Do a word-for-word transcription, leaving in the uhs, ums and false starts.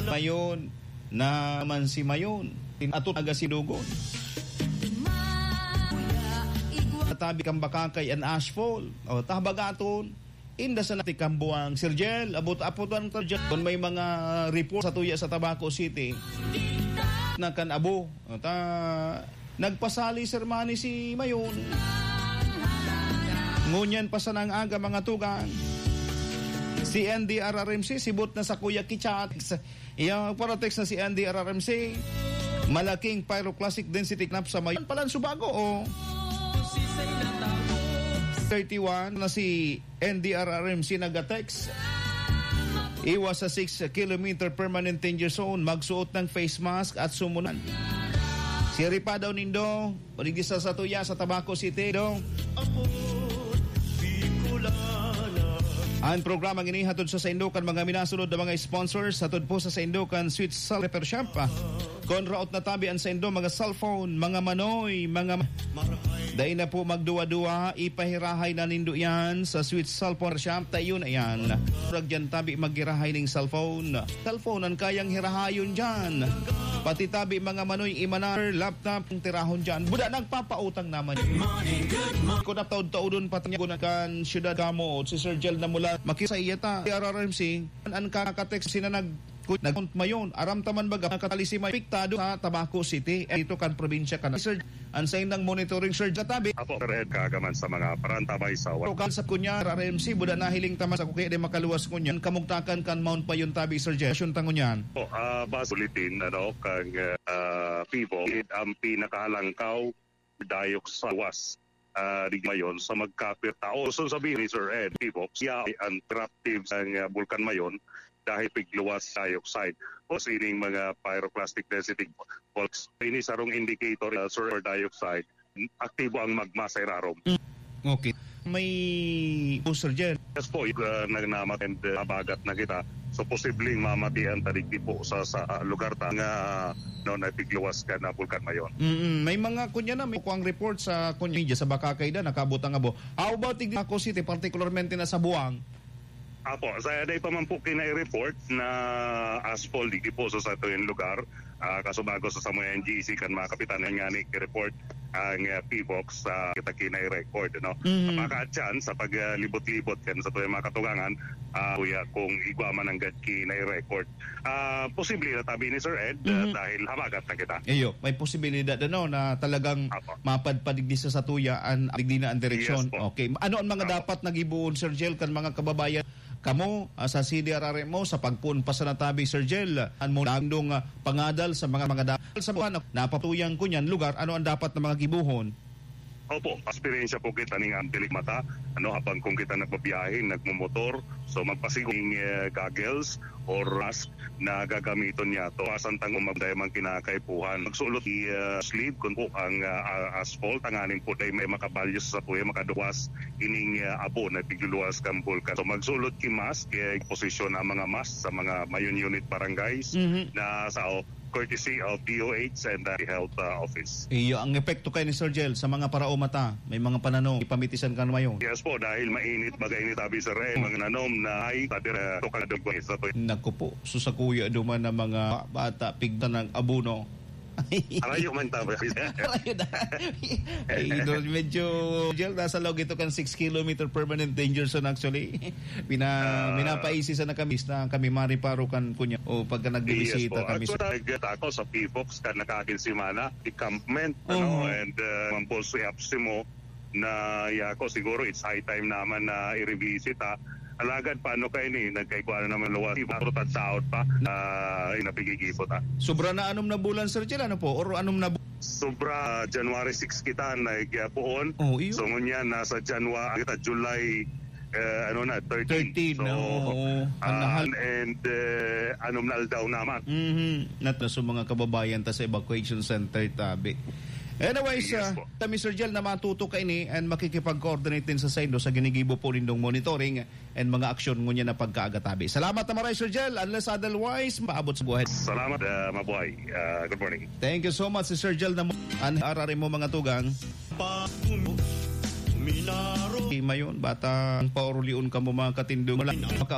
Mayon, na man si Mayon. Ato taga Sinugon. Tabi kan Bacacay and Ashfall. O, ta Habagaton. Inda sa natikambuang, Sir Jel, abot-apotan ta dyan. Kung may mga report sa tuya sa Tabaco City, na kan abo. O, ta, nagpasali, Sir Manny, si Mayon. Ngunyan pa sana ang aga, mga tugang. Si N D R R M C, sibot na sa Kuya Kichat. Iya, para text na si N D R R M C. Malaking pyroclastic density knap sa Mayon. Palan Subago, o. Thirty-one na si N D R R M C nagatext. Iwas sa six kilometer permanent danger zone. Magsuot ng face mask at sumunan. Siri pa daw nindo. Paligid sa satuya sa Tabaco City, do. Ang programang ini hatod sa saindo kan mga minasunod na mga sponsors. Hatod po sa saindo kan Sweet Cell Repair Shop. Kon raot na tabi ang saindo, mga cellphone, mga manoy, mga ma-, dai na po magduwa-duwa, ipahirahay na nindo yan sa Sweet Cellphone Shop. Tayo na yan. Murag dyan tabi maghirahay ning cellphone. Cellphone ang kayang hirahayon dyan. Pati tabi mga manoy, imanar, laptop, ang tirahon dyan. Buda nagpapautang naman. Kung nataod-taodon pa tayo kan syudad kamo, si Sir Jel na mula, makisa iya ta. R R M C, an, an kakatext sina nag-, nag-, Mayon. Aram taman baga, nakatali si Mayon, apektado sa Tabaco City. Eh, ito kan probinsya ka na. Sir, ang sa indang monitoring, Sir, katabi. Apo, Sir Ed, kagaman sa mga parantabay sa wa- Lokal sa kunya, R R M C, buda nahiling taman sa kuki, di makaluwas kunya. Kamugtakan kan Mount Payon tabi, Sir Jeff. Asyong tangon yan. Po, ah, base bulletin, ano, kang, ah, Pivo, ang pinakahalangkaw, dayok sa luwas, ah, di Mayon, sa magkapir tao. So, sabihin ni Sir Ed, Pivo, siya ay ang eruptive sa, ah, Bulkan Mayon dahil pigluwas dioxide. O sining mga pyroclastic density faults. Ini sarong indicator, ah, sulfur dioxide, aktibo ang magma sa irarom. Mm. Okay. May booster dyan. Yes po, uh, nagnamat and, uh, habagat na kita. So, posibleng mamati ang tadigdi po sa, sa, uh, lugar ta nga, no, napigluwas ka na Bulkan Mayon. Mm-mm. May mga kunya na, may kuwang report sa kunya media sa Bakakay na, nakabot ang abo. How about Ignaco City, particularmente na sa Buang? Apo, sa day pa man po kinai-report na asphalt, di po sa satuyang lugar, ah, kasubago sa samoy N G C kan mga kapitan na nga ni report ang, ah, P V O X sa kita kinai-record, no? Mhm. Baka dyan, sa paglibot-libot kan satuyang mga katugangan, ah, kuya, kung igwa man ang gad kinai-record. Ah, posible na tabi ni Sir Ed, ah, Mhm. dahil habagat na kita. Iyo, may posibilidad, ano, na talagang Apo. mapadpad digdi sa satuya an, digdi na ang direksyon. Yes po. Okay. Ano ang mga Apo. dapat na gibohon, Sir Jel, kan mga kababayan kamo, ah, sa C D R R M O, sa pagpoon pa sa natabi, Sir Jel? An mo nandong, ah, pangadal sa mga, mga da-, sa buwan, napatuyan ko niyan lugar, ano ang dapat na mga gibohon? Opo, eksperyensya po kita ning ang dilig mata, ano, habang kung kita nagbabiyahe, nagmumotor, so magpasigong, eh, goggles or mask na gagamiton niya to. Pasan tang umagday man kinakaipuhan. Magsulot i, eh, sleeve kung po ang, ah, ah, asphalt, tanganing po dahil may makabalyo sa puya, makaduwas ining, eh, abo na pigluluwas kang bulkan. So magsulot ki mask, eh, posisyon ang mga mask sa mga Mayon unit barangays Mhm. na sa courtesy of D O H and the health, uh, office. Iyo, ang epekto kay ni Sir Jel sa mga paraoma ta, may mga pananom, ipamitisan kan Mayon. Yes po, dahil mainit, baga init, sabi, Sir, eh, mga nanom na ay, sabi, eh, tukal na dugway sa to. Naku po, so sa kuya duman na mga bata, pigtan ng abuno. Arayo man tabi. Arayo na. Ay, ito, medyo, Jel, nasa log ito kan six kilometer permanent danger zone actually. Pina-, Ah. pinapaisi sana kami, na kami mariparo kan kunya o pagka nagbibisita Yes po. kami sa Actually, nag-, ako sa P V O X ka nakakin semana, encampment, ano, Oo. and, uh, mampol si Apsimo na yako, siguro it's high time naman na i-revisit, ha. Alagad paano kayo ni, nagkaigwa na naman luwas, siguro tagsaot pa, ah, yung napigigipot, ha. Sobra na anom na bulan, Sir Chel, ano po? Or anom na bu- Sobra, January six kita nagpuon. Oh, iyo. So, ngunyan, nasa January, kita, July, eh, ano na, thirteen. Thirteen, So, oo. Ang ah, nahal- and, eh, anom na aldaw naman. Mhm. Nat-, na sa mga kababayan ta sa evacuation center, tabi. Anyways, Yes ah, po. ta, Mister Jel, na matuto ka ini and makikipag-coordinate din sa saindo sa ginigibo po nindong monitoring and mga aksyon ngunyan na pagkaaga, tabi. Salamat na maray, Sir Jel. Unless otherwise, maabot sa buhay. Salamat, ah, mabuhay. Ah, good morning. Thank you so much, si Sir Jel na mo-, an R R M mo, mga tugang. Mayon, bata, ang paurulion ka mo, mga katindog. Wala maka-